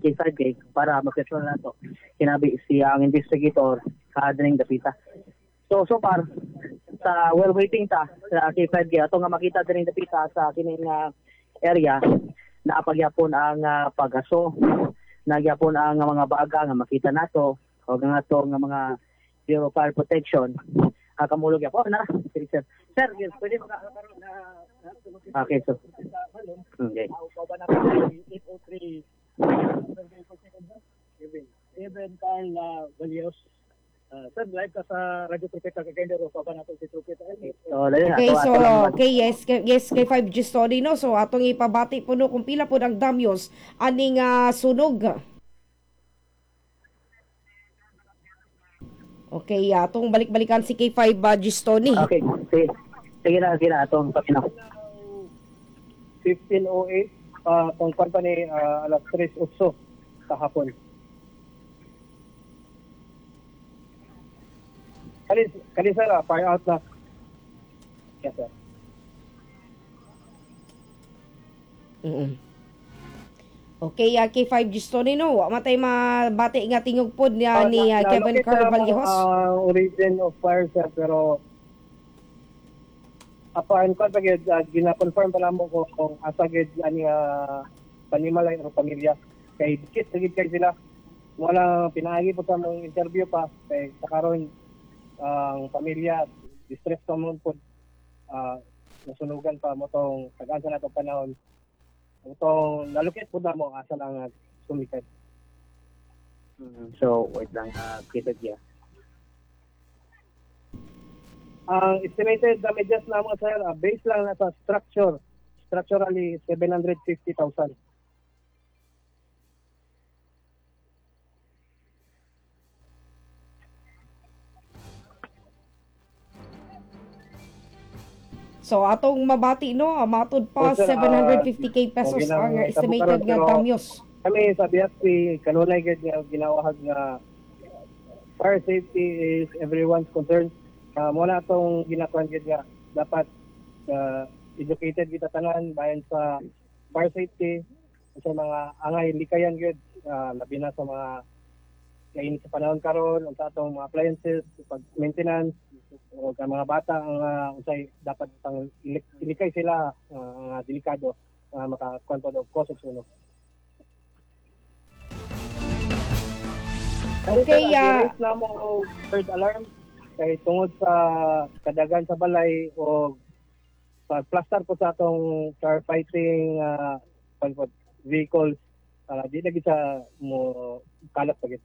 K5K para ma-personal nato hinabi siya ang investigator sa dapita. So so far sa well waiting ta sa K5K ato nga makita dining dapita sa kining area, naapagyapon ang pagaso, nagyapon ang mga baga nga makita nato o nga ato nga mga zero fire protection, kamulog yapon na. Sige, sir. Sir, yes, pwede mo ka. Okay, so. Okay. 803 Even Carl Valios. Sir, live ka sa Radyo Trupeta Cagayan de Oro, pa nato si Trupeta. So, dali na, Okay, ato, so ato lang naman. Okay, yes, kay 5G story, no. So atong ipabati po no kung pila po ang damyos aning sunog. Okay, atong balik-balikan si K5 Gistoni. Okay, sige. Sige na, atong paminaw. 15:08, pang kwan pa ni alas 3:08 sa hapon. Kani kani sir, fire out na. Yes, sir. Okay, K5 Gistoni no, wa matay mabati nga tingog pod niya ni Kevin Na-locate Carl na mo Vallejos. ang origin of fire, sir, pero apan kwan pa gyud, gina-confirm pa namo ko kung asa gyud ani panimalay o pamilya kay dikit sa gid kay sila. Wala pinaagi po sa among interview pa kay sa karon ang pamilya distress pa mo po, nasunugan pa mo tong tagaan sa natong panahon itong nalukit po na mo asa lang sumikat. So, wait lang, kita niya. Ang estimated damages na mo, sir, based lang na sa structure, structurally 750,000. So atong mabati no, matud pa Oh, sir, 750K pesos okay lang, ang estimated karon, nga pero damyos. kami sa BFP, kanunay gid nga ginawahag nga fire safety is everyone's concern. Mo na atong ginakuan gid nga dapat educated kita tanan bayan sa fire safety, sa mga angay likayan gid, labi na sa mga kainit sa panahon karon, unsa atong mga appliances pag maintenance o ang mga bata ang unsay dapat pang ilikay sila, nga delikado makakuan pa og cause of sunog. Okay, Sir, gi-raise na mo og third alarm kay tungod sa kadagan sa balay o pag-plaster po sa atong firefighting vehicles para di lagi sa mo kalat pa gid.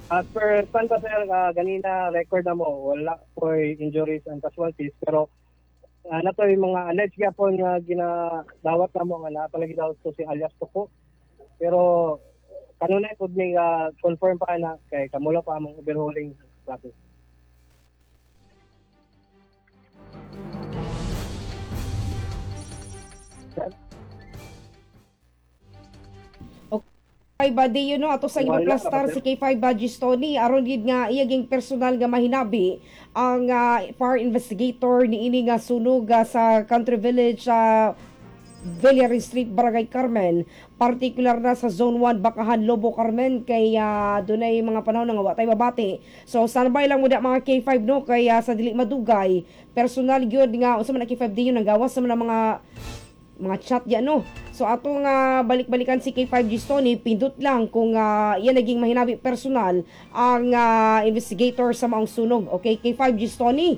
As per pan pa, sir, ganina record na mo, wala po'y injuries and casualties, pero nato yung mga alleged gyapon nga ginadawat na mo nga napalagi daw to si alias Toko. Pero kanunay pud ni confirm pa na kay kamulo pa among overhauling process. K5 body yun no, ato sa Wala, ipaplastar si K5 Gistoni aron gid nga iyaging personal nga mahinabi ang fire investigator ni ini nga sunog sa Country Village sa Villarin Street, Barangay Carmen, particular na sa Zone 1, Bakahan, Lobo, Carmen, kay dunay mga panahon nga wa tay mabati. So standby lang muna mga K5 no, kay sa dili madugay personal gyud nga unsa man ang K5 di yun ang gawas sa man ang mga chat yan no. So ato nga balik-balikan si K5 Gistoni, pindot lang kung yan naging mahinabi personal ang investigator sa maong sunog. Okay, K5 Gistoni.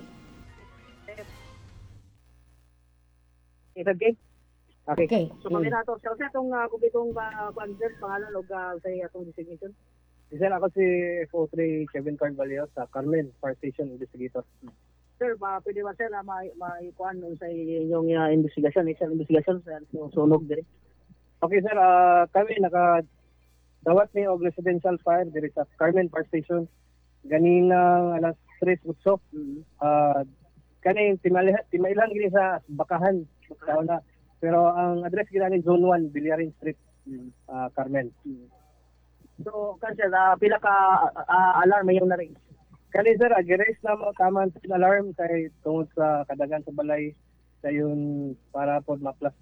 K5K? Okay. Okay. So, kami na ito. Sir, itong kung itong kuan, sir, pangalan o sa atong designation? Sir, ako si FO3 Kevin Carl Valios sa Carmen Fire Station Investigator. Sir, pwede ba, sir, maikuan sa inyong investigasyon, isang investigasyon sa sunog dire? Okay, sir, kami naka dawat ni og residential fire diri sa Carmen Fire Station ganina alas 3:08. Kani timailan gini sa Bakahan sa una. Pero ang address gina ni Zone 1, Villarin Street, Carmen. So, kan sir, pila ka alarm yung na-raise? Kani sir, gi-raise na mo taman alarm kay tungod sa kadagan sa balay dayon para pod maplasta.